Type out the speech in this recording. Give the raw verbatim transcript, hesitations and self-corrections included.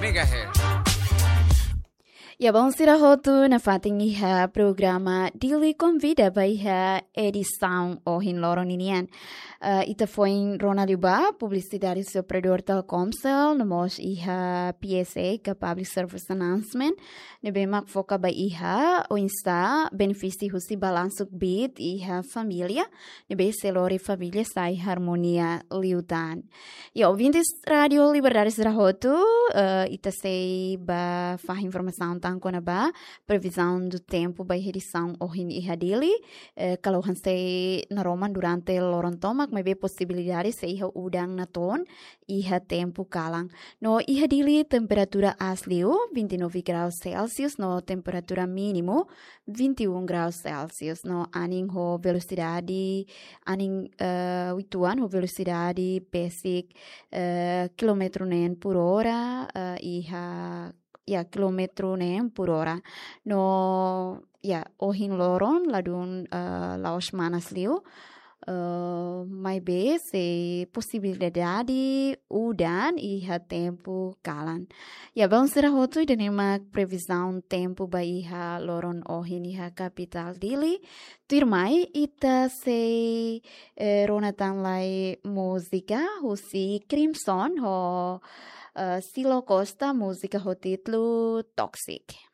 Megahertz. Ya, bainhira hotu nafatin iha programa Dili Konvida ba iha edisaun ohin loron ninian. Eh, ita foin rona liu ba publisidade husi operadór Telkomcel, no mós iha P S A, ka Public Service Announcement, ne'ebé mak foka ba iha oinsá benefísiu husi balansu kbiit iha família, ne'ebé sei lori família sai armonia liután. Ya, ouvintes Rádio Liberdade sira hotu, eh, ita sei bá fahe informasaun tan kona-ba previsão do tempo ba iha edisaun ohin iha Dili. Eh, kalohan sei naroman durante loron tomak, maibé posibilidade sei iha udan natoon iha tempu kalan. No iha Dili temperatura aas liu vinte e nove graus Celsius, no temperatura mínimu vinte e um graus Celsius, no anin ho velosidade, anin, eh, uitoan ho velosidade besik, eh, kilómetru neen por hora, eh, iha, ya, kilómetru neen por hora. No, ya, ohin loron ladún, eh, la'ós manas liu, eh, maibé sei posibilidade udan iha tempu kalan. Ya, bainhira hotu ida-ne'e mak previzaun tempu ba iha loron ohin iha kapitál Dili. Tuirmai ita sei, eh, rona tan lai múzika husi Crimson ho, eh, Silo Costa, múzika ho títulu Toxic.